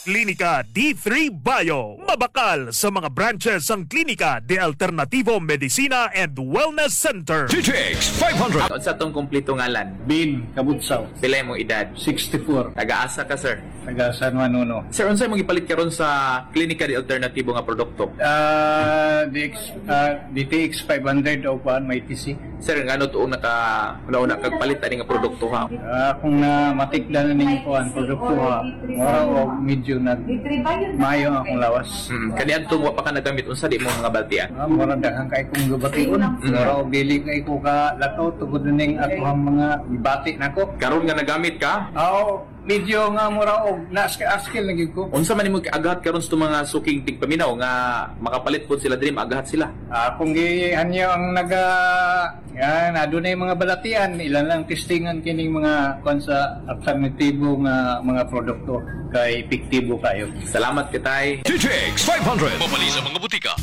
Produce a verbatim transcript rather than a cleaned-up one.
Klinika D three Bio. Mabakal sa mga branches ang Klinika de Alternativo Medicina and Wellness Center. D T X five hundred. Unsa tong kompleto ngalan? Bin Kabutsaw. Pila imong edad? sixty-four. Taga-asa ka, sir? Taga San Juan Uno. Sir, unsa imong gipalit karon sa Klinika de Alternatibo nga produkto? Ah, D X, ah, D T X five hundred o kuan may T C. Sir, ngano tuong naka una kag palit ani nga produkto ha? Ah, kung na matikda na ning kuan produkto ha, mura og medyo nag maayo ang akong lawas. Mm, kaniadtong wa pa ka nagamit, unsa di mo mga baltian? Ah, mura daghang kay kong gabation. Mura og dili kay ko ka lakaw tungod ning akoang mga gibati nako. Karon nga nagamit ka, Aw, medyo nga mura og naaskil na gyud ko. Unsa man nimo agahat karon sa mga suking tigpaminaw nga makapalit pod sila diri, maagahat sila? Ah, kung gihanyo ang naga yan, adunay mga balatian, ilan lang testingan kining mga kuan sa alternatibo nga mga produkto kay epektibo kayo. Salamat kitay. D T X five hundred. Mabali sa mga butika.